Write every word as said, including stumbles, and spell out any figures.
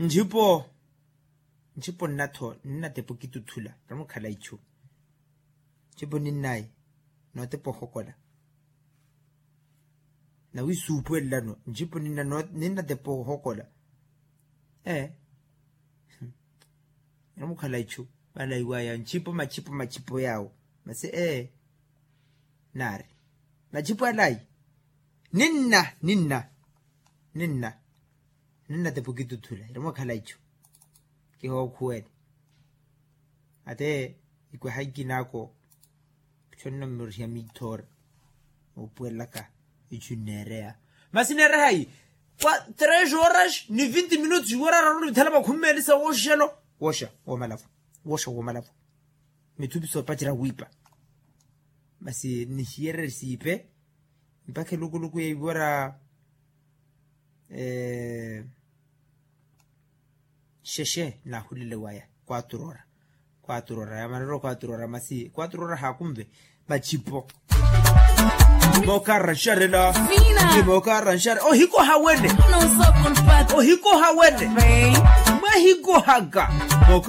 Ntxipo ntxipo nnatho nnatepa okituthula ramukhala ichu. Ntxipo ninnayi nootepa ohokola. Nawi suupwelelano ntxipo ninnatepa ohokola. Ee. Ramukhala ichu. Valaiwaya ntxipo machipo machipo yaawo. Masi ee. Naari machipo alayi. Ninna ninna ninna ninnatepa okituthula iramwakhala ichu. Kihookhuwele ate ikweha ikinako. Khonno mmoriha mithoora oopwelelaka ichu nneereya. Masi neerehayi kwa tres horas ni vinti minutos iwara araru ni mithala makhumi meeli sa wooxelo. Wooxa woomalavo. Wooxa woomalavo. Mithupi soopacera wiipa. Masi nihiyererye siipe mpakha elukuluku ya iwara. Xexe nahulele waya kwaturo ora. Kwaturo ora yamanero kwaturo ora masi kwaturo ora haakunve. Machipo. Mookarra nxarela. Mookarra nxarela ohikoha wene. Ohikoha wene. Mwahikohaka.